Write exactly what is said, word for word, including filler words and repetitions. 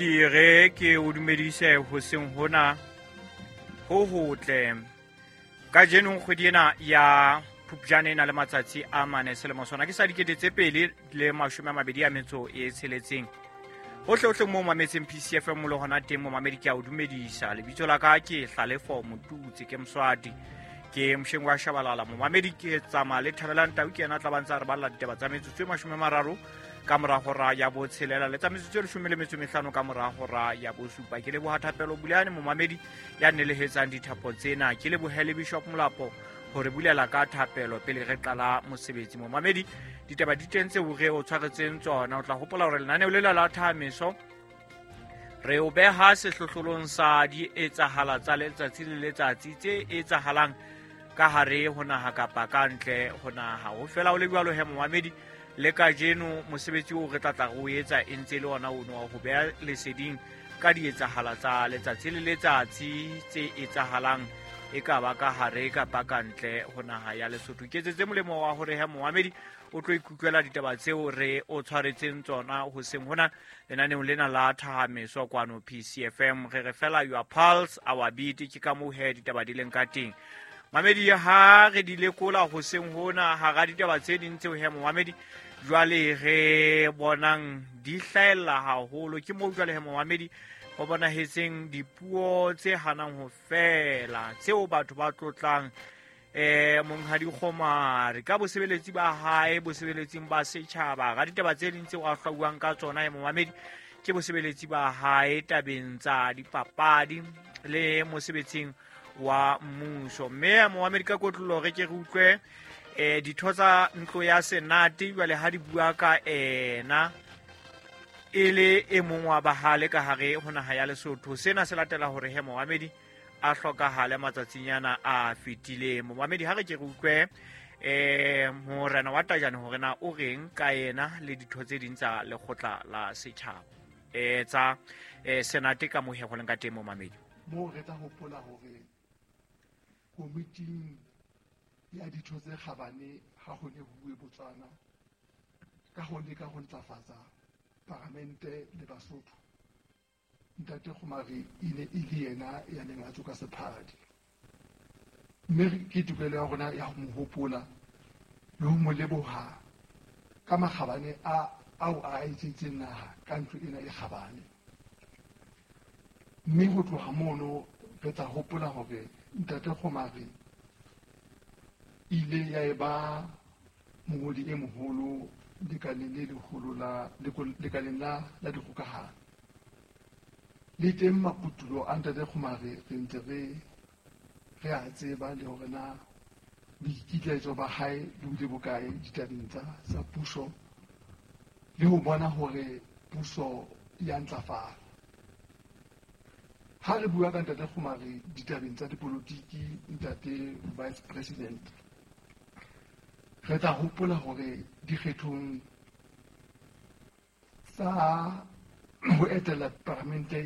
Dire ke o dumedise hoseng hona ho hotle. Kajeno kgwedi ena ya Phupjane e na le matsatsi a mane selemo sona ke sa dikete tse peli le mashome a mabedi a metso e tsheletseng. Hohle hohle moo mametseng P C F M le hona teng momamedi ke a o dumedisa. Lebitso la ka ke Hlalefo Motutsi, ke Moswati, ke mosheng wa Shabalala. Momamedi ke tsamaya le Thabelang Tau, ke yena a tla ba ntse a re balla ditaba tsa metsotso e mashome a mararo ka mora hora ya botshelela le tsa metsotso e leshome le metso e mehlano ka mora hora ya bosupa. Ke leboha Thapelo Bulane momamedi ya nelehetsang dithapo tsena. Ke lebohe le Bishop Molapo hore bulela ka thapelo pele re qala mosebetsi. Momamedi, ditaba di teng tseo re o tshwaretseng tsona. O tla hopola hore lenaneo lela la Thameso re o beha sehlohlolong sa di etsahala tsa letsatsi le letsatsi tse etsahalang ka hare ho naha kapa ka ntle ho naha. Ho fela ho le jwalo he momamedi, le kajeno mosebetsi oo re tla tla re o etsa e ntse le ona ono wa ho beha leseding ka dietsahala tsa letsatsi le letsatsi tse etsahalang e ka ba ka hare kapa ka ntle ho naha ya Lesotho. Ke etsetse molemo wa hore he momamedi o tlo ikutlwela ditaba tseo re o tshwaretseng tsona hoseng hona lenaneong lena la Thahameso kwano P C F M. Re re fela your pulse our beat, ke ka moo he ditaba di leng ka teng. Mamedi, ha re di lekola hoseng hona hara ditaba tse ding tseo he momamedi jwale re bonang di hlahella haholo, ke moo jwale he momamedi ho bonahetseng dipuo tse hanang ho fela tseo batho ba tlotlang eh Monghadi Kgomari ka bosebeletsi ba hae bosebeletsing ba setjhaba. Ga ditaba tse ding tseo a hlwauwang ka tsona he momamedi ke bosebeletsi ba hae tabeng tsa dipapadi le mosebetsing wa mmuso. Mme momamedi ka kotlolo re ke re utlwe eh ditho tsa ntlo ya Senate jwale ha di bua ka ena e le e mong wa bahale ka hare ho naha ya Lesotho. Sena se latela hore he momamedi a hlokahale matsatsinyana a fetileng. Momamedi, ha re ke re utlwe eh morena wa Tajane hore na o reng ka yena le ditho tse ding tsa lekgotla la setjhaba eh tsa eh Senate ka mohe ho leng ka teng momamedi. Moo re tla hopola hore komiting ya ditho tse kgabane ha ho ne ho bue Botswana ka ho leka ho ntlafatsa paramente le Basotho, Ntate Kgomari e ne e le yena ya neng a tsoka sephadi. Mme ke tokelo ya rona ya ho mo hopola le ho mo leboha ka makgabane a ao a etseditseng naha ka ntlo ena e kgabane. Mme ho tloha mono re tla hopola hore Ntate Kgomari ile ya eba mongodi e moholo lekaleng le leholo la lekaleng la la dikgokahano. Le teng maputulo a Ntate Kgomari re ntse re re a tseba le hore na boikitlaetso ba hae bo bile bokae ditabeng tsa tsa puso le ho bona hore puso ya ntlafala. Ha re bua ka Ntate Kgomari ditabeng tsa dipolotiki, Ntate Vice President, re tla hopola hore dikgethong tsa ho etela paramente